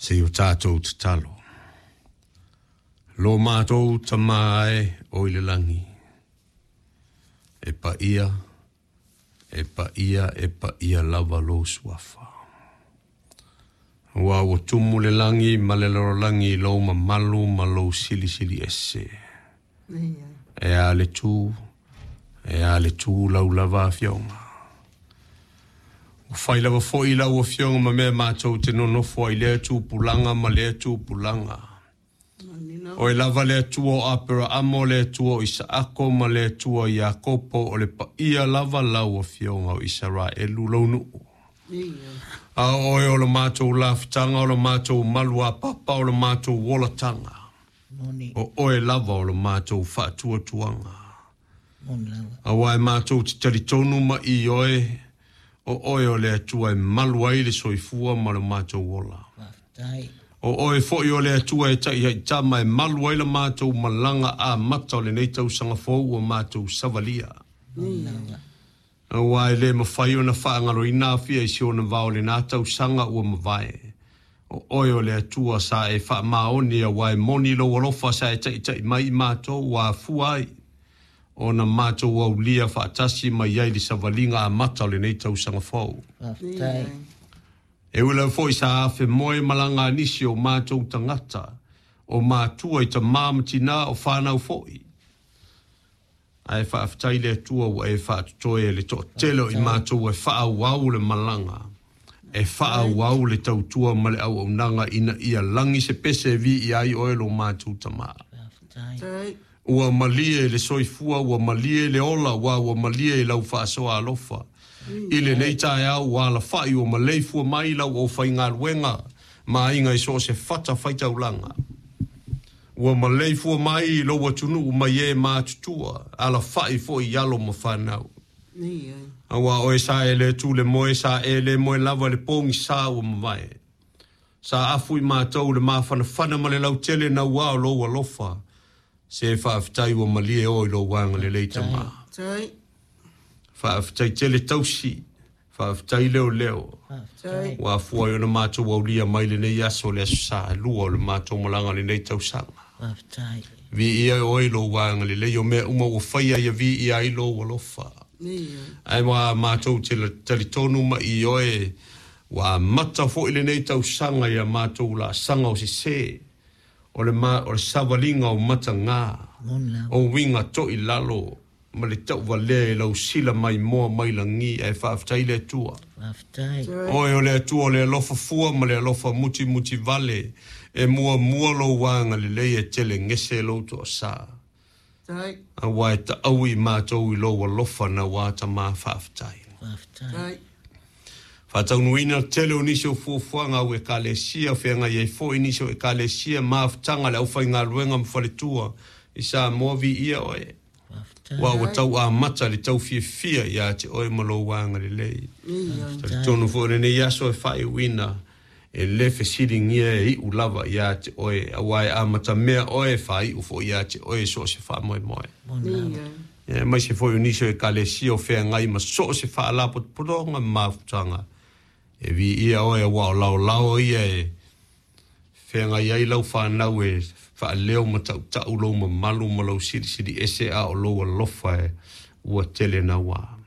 Se i o tātou tatalo. Lo mātou Tamā e o i le langi. E paia, e paia, e paia lava lou suafa. Aua ua tumu le lagi ma le lalolagi i lou mamalu ma lou silisili ese. E a le tu, e a le tu lau lava afioga. Ua fai lava foi lau afioga ma mea matou te nonofo ai lea tupulaga ma lea tupulaga. Oe lava le Atua o Aperaamo, o le Atua o Isaako ma le Atua o Iakopo, o le paia lava lau afioga o Isaraelu lou nuu. A o oe o le matou lafutaga, o le matou maluapapa, o le matou olataga. O oe lava o le matou faatuatuaga. Aua e matou te talitonu ma i oe, o oe o le Atua e malu ai le soifua ma le matou ola. O oe foi o le Atua e taihaitama e malu ai le matou malaga amata o lenei tausaga fou ua matou savalia. Aua e le mafai ona faagaloina afia i si ona vao lena tausaga ua mavae. O oe o le Atua sa e faamaoni aua e moni lou alofa sa e taitai mai i matou ua afua ai ona matou aulia faatasi mai ai le savaliga amata o lenei tausaga fou. E ui lava foi sa afe moe malaga a nisi o matou tagata, o matua i tamā ma tinā, o whanau foi. Ae faafetai le Atua ua e faatotoe e le toatele o i matou e faaauau le malaga, e faaauau le tautua ma le auaunaga ina ia lagi se pese e viia ai oe lo matou Tamā. Ua malie le soifua, ua malie le ola, aua ua malie i lau faasoa alofa. I lenei taeao ua alafai ua maleifua mai lau aufaigaluega ma aiga i so o se fata faitaulaga. Ua maleifua mai i lou atunuu mai e matutua, alafai foi i alo ma fanau. Aua oe sa e le tu le moe, sa e le moe lava le pogisa ua mavae. Sa afu i matou le mafanafana ma le lautele naua o lou alofa. Se faafetai ua malie oe i lou agalelei Tamā. Faafetai tele tausi, faafetai leoleo. Ua afua ai ona matou aulia mai lenei aso, le aso Sa e lua o le matou malaga o lenei tausaga. Viia oe i lou agalelei, o mea uma ua faia ia viia ai lou alofa. Ae ua matou te talitonu ma i oe, ua amata foi lenei tausaga ia matou laasaga o sese, o le, ma, o le savaliga o matagā, o uiga toilalo, ma le tauvalea i lau sila maimoa mai lagi, ae faafetai le Atua. Oe o le Atua o le alofa fua ma le alofa mutimuti vale, e muamua lou agalelei e telegese lou toasa. Aua e taui i matou i lou alofa naua Tamā faafetai. Faataunuuina tele o nisi o fuafuaga au Ekalesia, feagai ai foi nisi o Ekalesia, mafutaga le aufaigaluega ma faletua i Samoa, viia oe. Aua ua tau amata le tau fiafia ia te oe ma lou agalelei. Talitonu foi o lenei aso e faaiuina, e le fesiligia e iu lava ia te oe, aua e amatamea oe e faaiu foi ia te oe so o se faamoemoe. Ia, aemaise foi o nisi o Ekalesia o feagai ma so o se faalapotopotoga ma mafutaga, e viia oe aua o laolao ia e feagai ai lau fanau e faaleo ma tautau lou mamalu ma lou silisili ese a o lou alofa e ua tele naua.